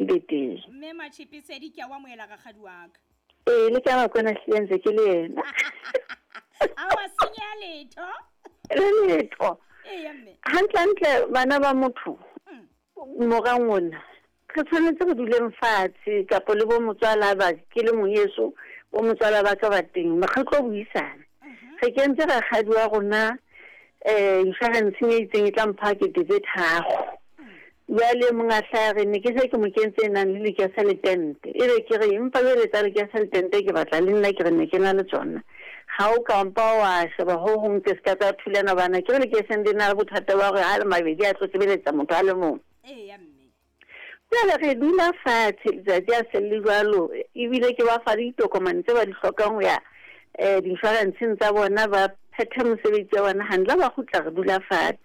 be teng. Mme Matšhipesedi, ke a o amohela rakgadi wa ka. Ee, le ka Bakwena hlile ntse ke le yena. A wa senyeha letho. Le letho. Eya mme. Hantlentle bana ba motho morang ona re tshwanetse re duleng fatshe kapo le bo motswala ba ke le moyeso bo motswala ba ka ba teng re tlo buisana. Re kentse rakgadi wa rona insurance e itseng e tla mpha 3000. Jwale monga hlaya re ne ke se ke mo kentse e nang le lekese le tente. E be ke re empa jwale tsa lekese le tente ke batla le nna ke re ne ke na le tsona. Ha o ka mpa wa sheba ho hong ke se ka tsa thulana bana ke re lekeseng le na le bothata ba hore ha le mabedi a tlo sebeletsa motho a le mong. Eya mme. Jwale re dula fatshe letsatsi a se le jwalo ebile ke ba fa le ditokomane tse ba di hlokang ho ya di-insurance-eng tsa bona ba phethe mosebetsi wa bona hantle ba kgutla re dula fatshe.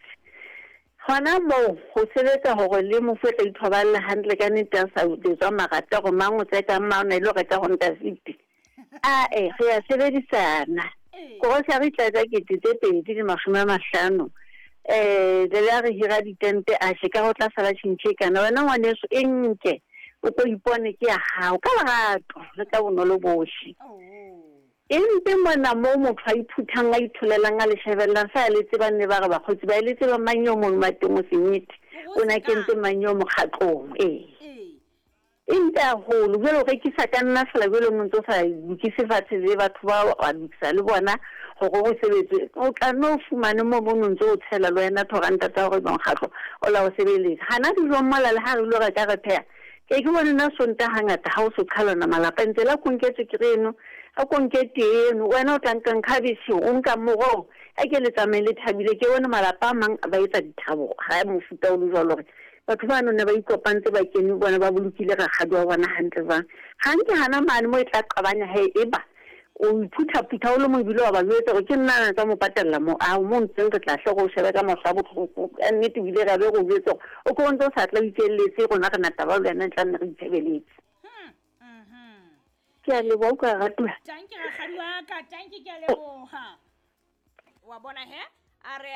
Hona moo ho sebetsa hore le mofu o tla ithoballe hantle ka nnete a sa jetswa marata hore mang o tseka mang o na ilo reka Honda Fit. Ae, re ya sebedisana. Grocery e tla ja 2500. Le la re hira ditente a she ka ho tla sala tjhentjhe e kana. Wena ngwaneso e nke o ko ipone ke ya hao ka lerato le ka bonolo bohle. Empe mona moo motho a iphuthang a itholelang a le shebellang fa le tseba nne ba re bakgotsi ba le tseba mang yo mong mateng o senyete o na kentse mang yo mokgatlong. Ee, empe haholo jwale o rekisa ka nna fela jwale o ntse o sa lokise fatshe le batho ba wa lokisa le bona hore ho sebetswe o tla nno o fumane moo mo ntse o tshela le wena thoranta tsa hore mokgatlo o la o sebeletsa. Hana dijong mola le ha re ilo reka re pheha ke ke bone nna Sontaha hangata ha o so qhalana malapa ntse la konketswe ke re eno a konke tee eno wena o tla nkang khabetšhe o nka morogo a ke le tsamaye le thabile. Ke bone malapa a mang ba etsa dithabo ha mofuta o le jwalo hore batho ba none ba ikopantse ba kene bona ba bolokile rakgadi wa bona hantle jwang. Hantle hana mane mo e tla qabanya he eba o iphuthaphutha o le mo ebile wa ba jwetsa hore ke nna na tsa mo patella mo a mo ntseng re tla hle go shebe ka mahlo a bohloko ka nnete ebile ra be go jwetsa hore o ko ntse o sa tla o ikelletse rona re nataba le wena tla nne re itshebeletse. Ke a leboha utlwa ratuwa. Tanki rakgadi wa ka, tanki ke a leboha. Wa bona he a re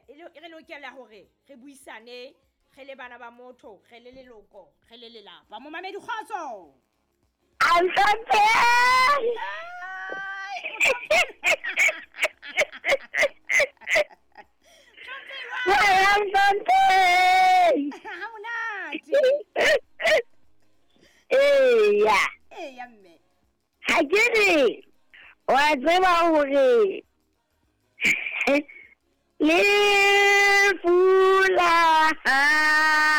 re lokela hore re buisane re le bana ba motho re le leloko re le lelapa. Momamedi kgotso. Ha monate. Eya. Eya mme. Ha ke re wa tseba hore lefu la hao.